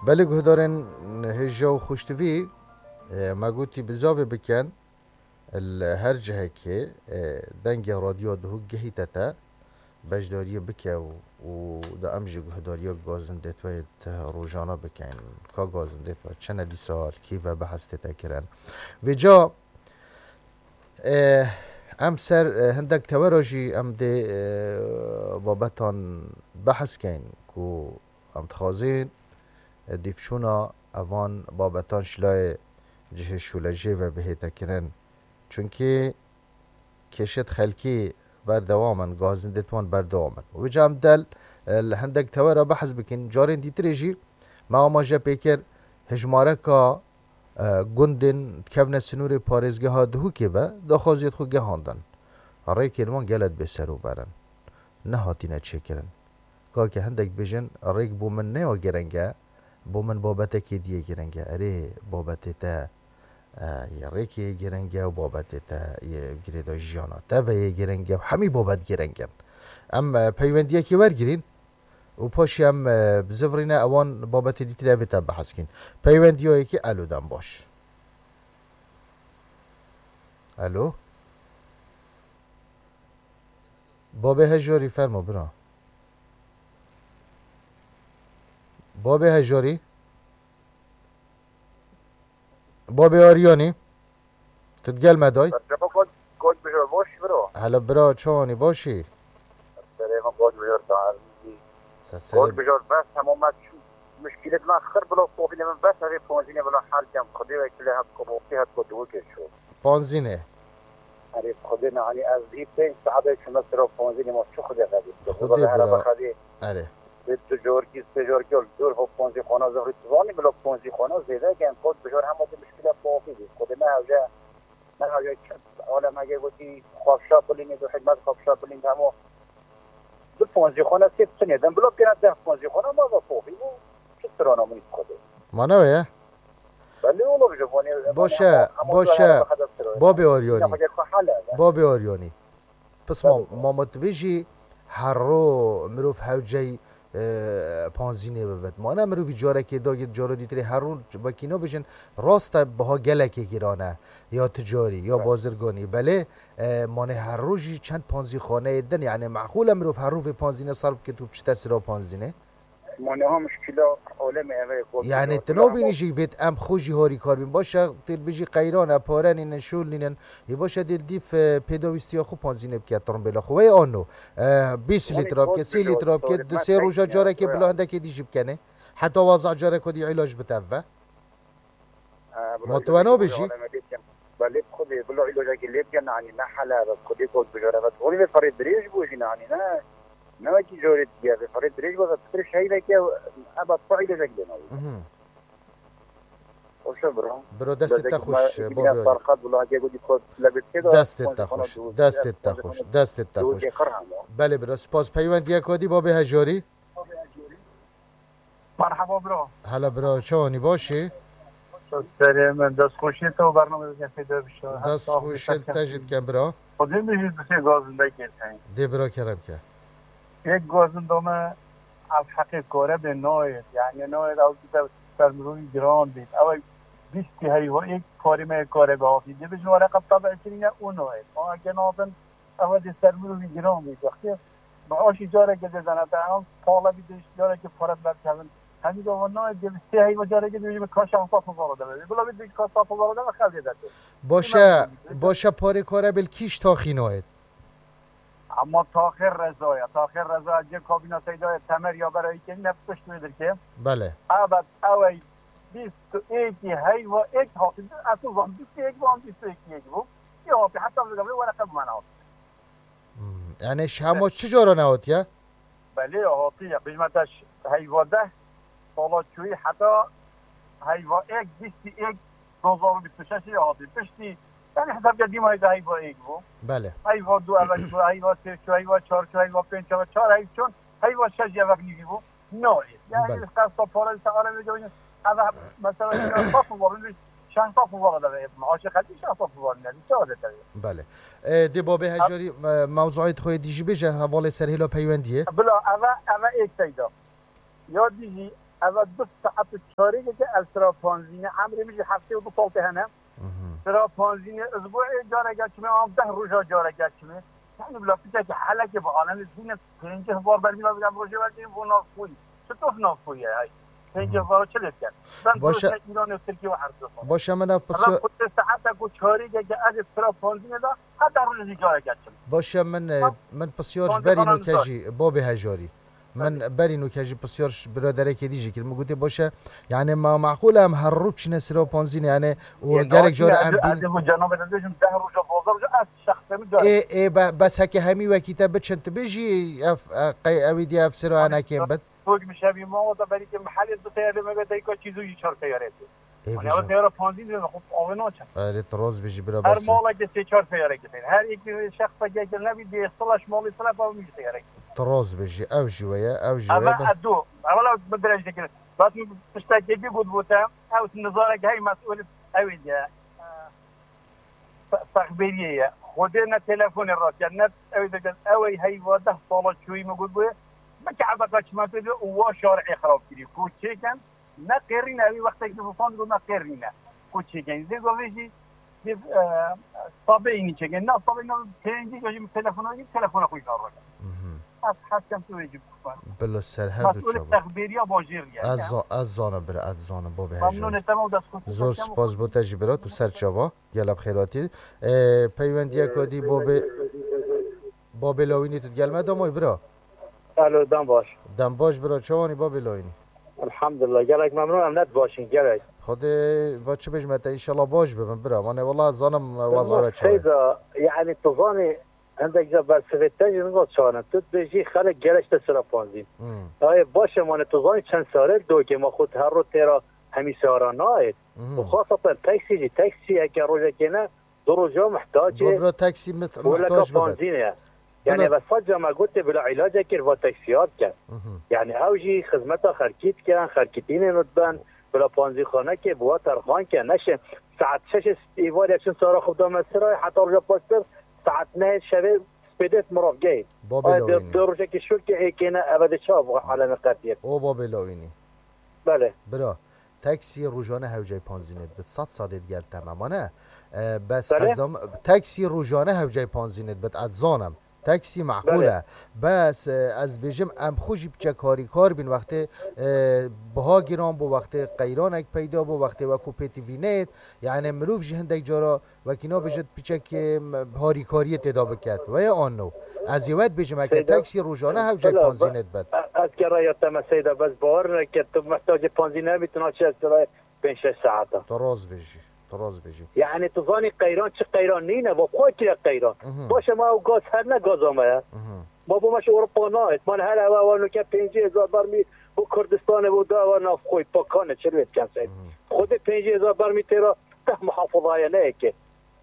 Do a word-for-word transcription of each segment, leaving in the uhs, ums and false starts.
Belê guhdarên hêja û xweştivî, e, me gotî bizavê bikin, li her cihekê, e, dengê radyoya Duhok gihîte te, beşdariyê bike û, û da em jî guhdariya gazindê te rojana bikin. Ka gazindê te çene dîsa li kî ve behs tête kirin. Vêca, e, em ser, e, hindek tewera jî em dê, e, babetan behs kein ku Em dixwazin, e, dîvçûna evan babetan ji layê cihê şûlejê ve bihête kirin. Çunkî kêşet xelkî berdewam in, gazindê wan berdewam in. Wê ca em del, e, li hindek tewera behs bikin. Carên dîtirê jî me amaje pê kir, hejmareka, e, gundên dikevne sinûrê parêzgeha Duhokê ve, daxwaziyê xwe gihandin. Rêkên wan gelek bêserûber in. Nehatine çêkirin. Kake hindek dibêjin, rêk bo min ne ya girîng e, bo min babetekê dî yê girîng e. Erê, babetê te, e, yê rêkê yê girîng e û babetê te yê girêda jiyana te ve yê girîng e û hemî babet girîng in. Em, e, peywendiyekê wergirîn û paşê em, e, bizivirîne ewan babetê dîtirê evê te behs kîn. Peywendiya yekê, elo, dem baş. Elo? Babê Hejarî, fermo bira. Babê Hejarî. Babê Aryanî. Tu digel me day. Merhaba, Koç, Koç Bijor, baş bro. Hela bira, çawanî, başî? Serê min Koç Bijor, ta. Koç Bijor, bes hemû me çû. Muşkîlet me xir bila, kopîlê min bes, evê ponzînê bila hel kem. Xwedê wekîlê, het kopî, het kopî wekî çû. Ponzînê. Erê, Xwedê nehanî ez bî pênc saetê çûme sero ponzînê, ma çi Xwedê xedî? Xwedê bira. Erê. Bi tu corkî, sê corkî ol dûr ho ponzî xona zehri tu zanî bila ponzî xona zêde gen kot bijor hema tu muşkîla xwe bî. Xwedê me hewce, me hewce çi alem hege gotî xwafşa bilînê, du hikmet xwafşa bilîn hemo. Du ponzî xona sê tinê den bila pêna deh ponzî xona ma ve xwe bî. Çi sirana min Xwedê. Ma ne ye? Belê oğlum, ji Bonê, Baş e, Bonê, ama baş e. Ama Babê Aryonî. Ya, hocam, hale. Babê Aryonî. Pisma, Tabii. Ma ma tu bêjî her ro mirov hewcey, e, panzînê bibit. Ma ne mirovî carekê dagir cara dîtirê her ro wekî nabêjin, rast e, biha gelekê giran e. Ya ticarî, ya Tabii. Bazirganî. Belê, e, ma ne her ro jî çend panzîxaneyê din, yani meqûl e mirov her ro vê panzînê serf bikit û biçite sira panzînê? Ma niha muşkîla alemê eve ye, kol Yani, tu nabînî jî vêt em xwe jî harîkar bîn. Baş e, tê dibêjî qeyran e, pare nînin, şûl nînin. Ê baş e, dê dîv, e, pêdawîstiya xwe panzînê bike, tirmbêla xwe. Wê ano, e, bîst lîtra bike, sê lîtra bike, di sê roja carekê bila hindekê dî jî bikenê. Heta waza careka dî îlac bite ve. Ha, bila Ma tu îlacekî weno bijî? Belê Xwedê, bila îlacekî lê bike, nanî ne hele be, Xwedê kok bijare be. Holî vê ferê dirêj bû jî nanî, ne? Ne wekî jorê diye, vê ferê dirêj bû, pitir şey veke, eba xwe îlacek lê nabî. Mhm. Hoşe bira. Biro, destê te xweş, Bobî Arî. Sarqat bila heke gotî kot lebê tê de, Destê te xweş, destê te xweş, destê te xweş. Belê biro, spas. Peywendiye kodî Bobê Hejarî. Merhaba bro. Hela bro, çawanî, başî? Serê min, dest xweşî te û bernameyê te fêde bişe. Dest xweşî te jî dikem bro. Xwedê min jî dusê gazindekê te. Dê bro, kerem ke. Yek gazinda me ev heqê karebê nayêt. Yani nayêt ew bide ser mirovî giran bît. Ew bîstî heyva êk parê me karebê hatî. Dibêjin were qe tebe kirîne û nayêt. Ma eke natin Ev dê ser mirovî giran bî. Wextê maaşî careke dê dene te, em pala bî dê carekê pare berkevin. Hemî de wan nayê dê sê heyva carekê dê bêjî ka şeş sed hezar de be. Bila bî dê ka şeş sed hezar de be, xew dê derkê. Baş e, baş e, parê kare bil kîş taxî nayêt. Ama Taxir Reza ya. Taxir Reza cê kabîna Seydayê Temer ya berayî kê ne pişt wê dirkê. Belê. Evet, ew ey bîst û êkî heyva êk hatî. Ez zan bîst û êk van, bîst û êkî êk bû. Ya hatî, heta vê gavê wereqe bi me nehatiye. Hmm. Yani ji hema çi cara nehatiye? Belê hatiye. Bêjme te ş-, heyva deh sala çûyî heta heyva êk, bîstî êk, du hezar û bîst û şeş hatî. Piştî, yani hesabke dîma heyva, heyva êk bû. Belê. Heyva du eve çû, heyva sê çû, heyva çar çû, heyva pênc çû, çar heyv çûn, heyva şeş eve nîvî bû. No, yani Belê. Qesta para ise arabê gevin. Eve mesela şeş sed dolar, şeş sed dolar da ve. Maaşı kaç şeş sed dolar ne? Çawa de tabii. Belê. E, dê Babê Hejarî, e, mewzuayê xwe dî jî bêje, hevalê ser hêla peywendiyê. Bila eve, eve êk seyda. Ya dî jî Eva du saet û çarêkeke ev sira panzî ne. Emrê min jî heftê û du sal tê hene. Mhm. Sira panzî ne, ez bo ê careke çime, an deh roja careke çime. Yani bila piçekî helekê bi alem, ez hîne pêncî hezar bermîl ez gel rojê vekê bo navxwî. Çitof navxwî ye hay? Pêncî hezar çi lê diket? Ben Başe- rojê Îranê û Tirkiye û her du sal. Başe min ev Eva pisyo- kutê saetek û çarêkeke ez ê sira panzî ne da, heta rojê jî careke çime. Başe min, e, Ha? min pisyar ji Panzî berî xanan nûke zor. jî, babê hejarî. Min Tabii. berî nûke jî pisyar ji biraderekê dî jî kir. Min gotê, baş e, yani ma meqûl e em her rû biçîne sira panzînê, yani û Yê gelek navê cara me em ez, bîn- ez bu cenabê de dibêjim, deh roja, bazar roja, ez şexsê min Ê, carek. ê, be-, bes heke hemî wekî te biçin, tu bêjî ev, e, qey ewî dî ev sira Abi, enekên bit. Tok mi şevî ma, o da berî ke mehelê du teyare me ve deyka çîzû jî çar teyare. Ê, Hani bijin. Ew teyara panzî dibe xwe avê naçe. Erê, tu rast bijî bira Her bes e. maleke sê çar teyareke teyar. Her iki şexseke ke nebî dê sila ji malê sila pa min teyareke. Tu rast bijî. Ew jî we ye, ew jî we Eve ye. Be- edo. Evela bi dirêj dikir. Bas min tiştekê dî got bo te. Ew nizareke hey mesûl ew ê diye. Fe-, fexbêriyê ye. Xwedê ne telefonê rast ye, ne ew ê dikir. Ew ê hey va deh sala çûyî min got bo ye. Bike ebeqa çimentê de û wa şarê xirab kirî. Ku çêken, Ne qêrîne, wî wextekî bi fan got ne qêrîne. Ku çêkenî. Zê govê jî, zê, e, sabê înî çêkenî. Na sabê na pêncî jî min telefona jî, telefona xwe jî naroke. Mhm. Ez heskem tu wê jî bixwe. Bilo serhevd û Mesûlê çaba. Texbêriya bajêr ye. Ez za-, ez zanim bira, ez zanim bo bihejin. Memnûnê te me û dest xwe Zor spas bo te jî bira, tu ser çaba. Gelek xêratî. E, peywendiyeka dî bo bê, bo bê lawînî tu digel me damay bira. Alo, dem baş. Dem baş bira, çawanî babê layînî? Elhamdulillah, gelek memnûn em, net başin, gelek. Xwedê va çi bêjme te, înşallah baş bibin bira. Mane wela zanim wazaya çawa. Seyda, yani tu zanî, hindek ca bersivê te jî niva çanin. Tu dibêjî xelek gelek te sira panzîn. Hmm. Ayê baş e, mane tu zanî çend sare dokê ma xwe her ro têra hemî sara nayêt. Mhm. Û xaseten taksî jî, taksî heke rojekê ne, du roja muhtacê Bobro taksî mit-, goleka muhtaç bibe. Panzînê ye. Yani Bila- ve sadece me gotê bila îlace kir va taksiya bike. Mhm. Yani ew jî xizmeta xelkî dikin, xelkî tînê nû diben, bila panzîxanekê bi wa terxan ke neşin. Saet şeşê îvarê çin sara xwe da me sira, heta roja paştir saet nehê şevê spêdêt miravgehê. Babê Ay, lawînî. De rojekê şûr ke êkê ne, eve de çav alemê qetiyê. O babê lawînî. Belê. Bira, taksî rojane hewcay panzînê dibit. Sed sedê digel temamane. E, bes Belê. qezam, taksî rojane hewcay panzînê dibit. Ez zanim. Taksî meqûl Belê. e. Bes, e, ez bêjim, em xwe jî piçek harîkar bîn wextê, e, biha giran bû, wextê qeyranek peyda bû, wextê wekû pêtivî neyêt. Yani mirov jî hindek cara Wekî nabêjit piçekê, m-, harîkariyê têda biket. Weye an no? Ez ê we dibêjim, heke Seyda, taksî rojane hewcê Seyda, panzînê dibet. E-, ez ke raya te me Seyda, bes bawer neke, tu mehtacê panzînê bî, tu naçe ez raya pênc şeş saeta. Tu rast bêjî, tu rast bêjî. Yani tu zanî qeyran çi qeyran nîne, va xwe kire qeyran. Mhm. Baş e, ma ew gaz her ne gaza me ye. Mhm. Ma bo me ji Ewropa nayêt. Ma her ewa ewa nuke pêncî hezar bermî bo Kurdistanê bo da ewa nav xwe pakane çi lê diken Seyda. Mhm. Xwedê pêncî hezar bermî têra deh muhafazaye ne yekê.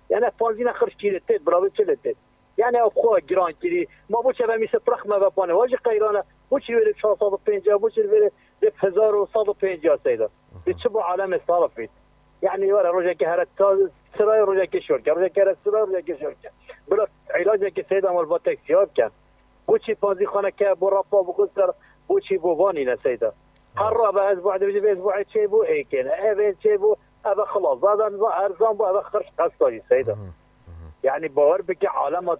Yani panzîne xirç kîrê têt, biravê çi lê têt. Yani ev xwe giran kirî. Ma bo çi ve mîse pirx me ve pane. Wa jî qeyran e. Bo çi wêrê çar sed û pêncî, bo çi wêrê dê hezar û sed û pêncî Seyda. Dê çi bo alemê salafît. Yani were rojekê here ta sirayê rojekê şorke. Rojekê here sirayê rojekê şorke. Bila îlacekê Seyda mal va teksiya biken. Bo çi panzîxaneke bo rapa bixwe ser, bo çi bo vanî ne Seyda. Her Rast. Rava ez bu dibêjim, ez bu çê bû êkên. Ev ê çê bû, ev xilas. Zaten va erzan bû, ev xirç qesta jî Seyda. Mhm, mhm. Yani bawer bike alema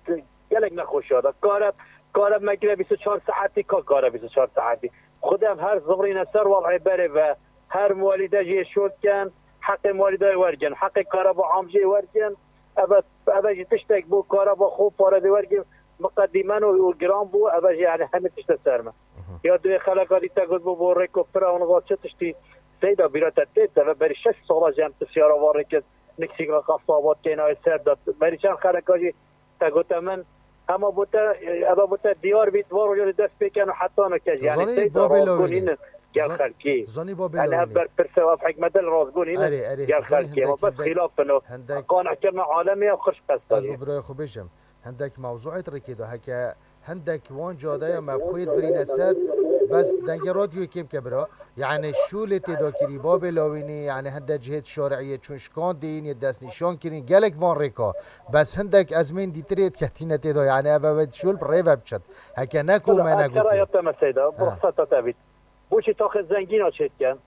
t-, gelek nexweşiya da. Kare, kare me kire bîst û çar saetî, ka kare bîst û çar saetî. Xwedê em her zivrîne ser waz'ê berê ve. Her muwelîde jê şot ken, heqê muwelîdayê wergin, heqê kareba am jê wergin. Eve, eve jî tiştek bû, kareba xwe pare dê wergin. Miqedîmen û, û giran bû, eve jî yani hemî tişte ser me. Mhm. Ya duê xeleka dî te got bû bo rêko pira û niza çi tiştî Seyda bîra te tê, te ve berî şeş sala jî em tu siyara va rêkir niksîka qasaba têna ser de. Berî çend xeleka jî te gote min, hema bo te, eve bo te diyar bît, va roja dê dest pê ken û heta no ke jî. Yani Zanî Seyda babê razgûn lawînî. Nîne gel Zan-, xelkî. Zanî babê Yani ev lawînî. Berpirse û ev hikmete li razgûn nîne Erê, erê, gel zanî xelkî. Hindek, Ama bes hindek, xilaf bin o. Hindek. Qanehkirina alemiya xirç qesta Ez jî. Bi birayê xwe bêjim. Hindek mewzuêt rêkê de heke hindek wan cadeya me xwêt birîne ser, bes dengê radyoyê kêm ke bira. Yani şûlê têda kirî, babê lawînî, yani hindek cihêt şar'iyê çûn şikan dîn yê destnîşan kirîn, gelek van rêka. Bes hindek ezmên dîtirê diketîne têda, yani ev ev şûl bi rê ve biçit. Heke ne ku Bila me ez negotî. Kera ya te me Seyda, Ha. Bi ruxseta te bît. Wişî taxê zengîna çêdikin.